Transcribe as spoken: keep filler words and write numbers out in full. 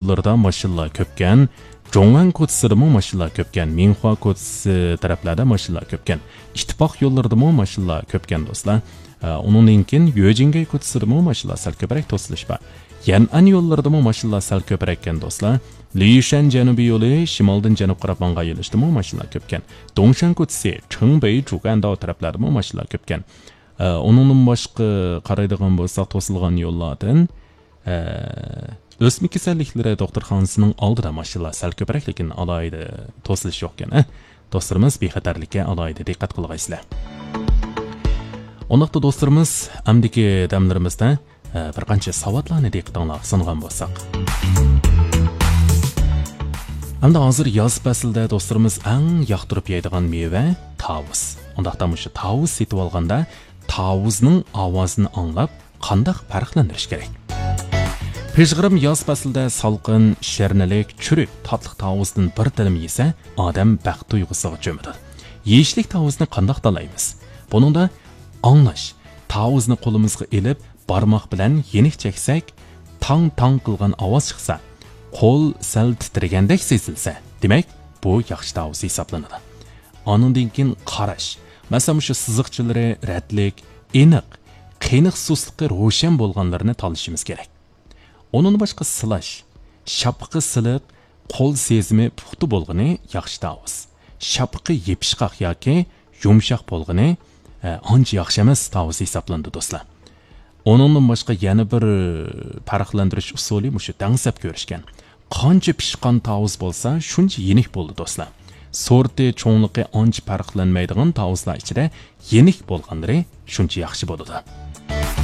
يوللىرىدا ماشىنىلار كۆپكەن. جوڭۋەن كوچىسىدىمۇ ماشىنىلار كۆپكەن. مىڭخۇا كوچىسى تەرەپلەردە ماشىنىلار كۆپكەن. ئىتتىپاق يوللىرىدىمۇ ماشىنىلار كۆپكەن، دوستلار. ئە، ئۇنىڭدىن كېيىن يۆجىنگەي كوچىسىدىمۇ ماشىنىلار سەل كۆپرەك توسۇلۇش بار. يەنئەن يوللىرىدىمۇ ماشىنىلار سەل كۆپرەككەن، دوستلار. لىيۈشەن جەنۇبىي يولى شىمالدىن جەنۇبقا قاراپ ماڭغان يۆنىلىشتىمۇ ماشىنىلار كۆپكەن. دۇڭشەن كوچىسى، چىڭبېي، جۇگەنداۋ تەرەپلەردىمۇ ماشىنىلار كۆپكەن. ئە، ئۇنىڭدىن باشقا قارايدىغان بولساق، توسۇلغان يوللاردىن، ئە، ئۆسمە كېسەللىكلىرى دوختۇرخانىسىنىڭ ئالدىدا ماشىنىلار سەل كۆپرەك، لېكىن ئالاھىدە توسۇلۇش يوقكەن، ئە. دوستلىرىمىز بىخەتەرلىككە ئالاھىدە دىققەت قىلغايسىلەر. ئۇنداقتا دوستلىرىمىز، ئەمدىكى دەملىرىمىزدە، ئە، بىر قانچە ساۋاتلارنى دىققىتىڭلارغا سۇنغان بولساق. ئەمدى ھازىر ياز پەسلىدە دوستلىرىمىز ئەڭ ياقتۇرۇپ يەيدىغان مېۋە تاۋۇز. ئۇنداقتا مۇشۇ تاۋۇز سېتىۋالغاندا تاۋۇزنىڭ ئاۋازىنى ئاڭلاپ، قانداق پەرقلەندۈرۈش كېرەك؟ پىژغىرىم ياز پەسلىدە سالقىن، شىرنىلىك، چۈرۈك، تاتلىق تاۋۇزدىن بىر تىلىم يېسە، ئادەم بەخت تۇيغۇسىغا چۆمىدۇ. يېيىشلىك تاۋۇزنى قانداق تاللايمىز؟ بۇنىڭدا ئاڭلاش، تاۋۇزنى قولىمىزغا ئېلىپ، بارماق بىلەن يېنىك چەكسەك، تاڭ-تاڭ قىلغان ئاۋاز چىقسا، قول سەل تىترىگەندەك سېزىلسە، دېمەك، بۇ ياخشى تاۋۇز ھېسابلىنىدۇ. ئانىڭدىن كېيىن قاراش، مەسىلەن، مۇشۇ سىزىقچىلىرى رەتلىك، ئېنىق، قېنىق سۇسلۇقى روشەن بولغانلىرىنى تاللىشىمىز كېرەك. ئۇنىڭدىن باشقا سىلاش، شاپىقى سىلىق، قول سېزىمى پۇختا بولغىنى ياخشى تاۋۇز. شاپىقى يېپىشقاق ياكى يۇمشاق بولغىنى، ئە، ئانچە ياخشى ئەمەس تاۋۇز ھېسابلىنىدۇ، دوستلار. ئۇنىڭدىن باشقا يەنە بىر، ئە، پەرقلەندۈرۈش ئۇسۇلى مۇشۇ دەڭسەپ كۆرۈشكەن. قانچە پىشقان تاۋۇز بولسا، شۇنچە يېنىك بولىدۇ، دوستلار. سورتى، چوڭلۇقى ئانچە پەرقلەنمەيدىغان تاۋۇزلار ئىچىدە يېنىك بولغانلىرى شۇنچە ياخشى بولىدۇ.